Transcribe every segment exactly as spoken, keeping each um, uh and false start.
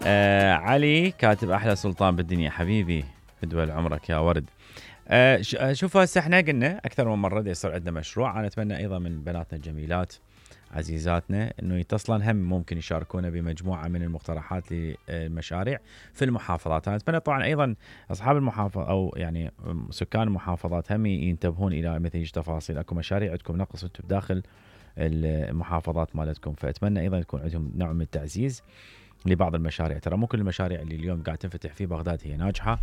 آه علي كاتب احلى سلطان بالدنيا حبيبي، فدوى عمرك يا ورد. آه شوف هسه احنا قلنا اكثر من مره يصير عندنا مشروع، انا اتمنى ايضا من بناتنا الجميلات عزيزاتنا انه يتصلن هم ممكن يشاركونا بمجموعه من المقترحات للمشاريع في المحافظات. انا اتمنى طبعا ايضا اصحاب المحافظه او يعني سكان المحافظات هم ينتبهون الى مثل هيج تفاصيل. اكو مشاريع عندكم نقص انتم بداخل المحافظات مالتكم، فاتمنى ايضا يكون عندهم نوع من التعزيز لبعض المشاريع. ترى مو كل المشاريع اللي اليوم قاعد تنفتح في بغداد هي ناجحه،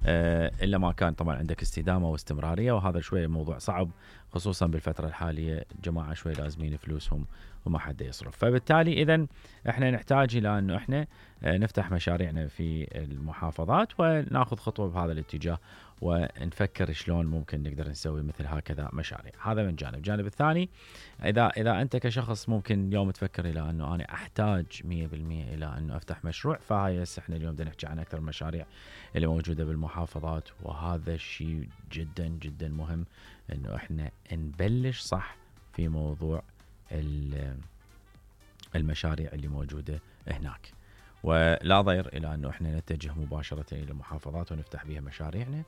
أه الا ما كان طبعا عندك استدامه واستمراريه، وهذا شويه موضوع صعب خصوصا بالفتره الحاليه. الجماعه شويه لازمين فلوسهم وما حد يصرف، فبالتالي اذا احنا نحتاج الى انه احنا نفتح مشاريعنا في المحافظات وناخذ خطوه بهذا الاتجاه، ونفكر شلون ممكن نقدر نسوي مثل هكذا مشاريع. هذا من جانب. الجانب الثاني، اذا اذا انت كشخص ممكن اليوم تفكر الى انه انا احتاج مية بالمية الى انه افتح مشروع، فهاي هسه احنا اليوم بدنا نحكي عن اكثر المشاريع اللي موجوده بالمحافظات، وهذا الشيء جدا جدا مهم انه احنا نبلش صح في موضوع المشاريع اللي موجوده هناك، ولا ضير الى انه احنا نتجه مباشره الى المحافظات ونفتح بها مشاريعنا،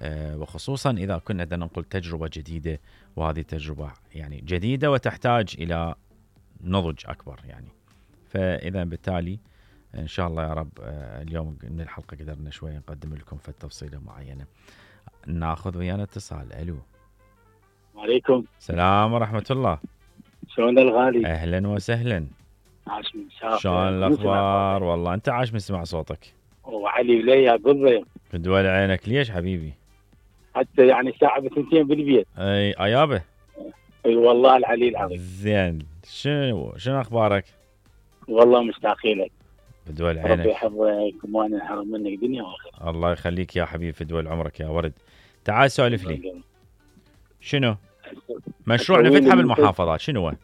أه وخصوصا اذا كنا بدنا نقول تجربه جديده، وهذه تجربه يعني جديده وتحتاج الى نضج اكبر يعني. فاذا بالتالي ان شاء الله يا رب أه اليوم من الحلقه قدرنا شويه نقدم لكم في تفصيله معينه. ناخذ ويانا اتصال. الو. وعليكم السلام ورحمه الله. شلون الغالي؟ اهلا وسهلا. عاش من شافك. شلون الاخبار؟ والله انت عاش من سمع صوتك. وعلي وليا قضي فدول عينك. ليش حبيبي؟ حتى يعني ساعه بثنتين بالبيت. اي ايابه. اي والله العلي العظيم. زين. شنو شنو اخبارك؟ والله مشتاقين لك. فدول عينك. ربي يحفظك وما ننحرم منك دنيا واخره. الله يخليك يا حبيبي، فدول عمرك يا ورد. تعال سولف لي. شنو مشروع نفتحه بالمحافظات؟ شنو هو؟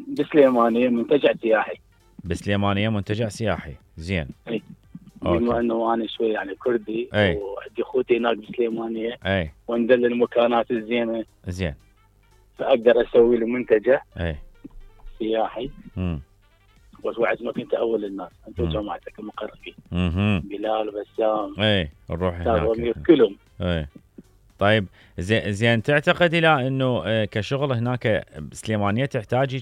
بسليمانيه منتجع سياحي. بسليمانيه منتجع سياحي. زين. اي بما انه انا شوي يعني كردي أي. وعندي اخوتي هناك بسليمانيه، اي وندل المكانات الزينه. زين. فاقدر اسوي له منتجع اي سياحي. امم بس وعدتك انت اول الناس، انت وجماعتك المقربين. اها بلال وبسام. اي نروح هناك كلهم. اي طيب زين زين. تعتقد الى انه كشغل هناك بسليمانيه تحتاج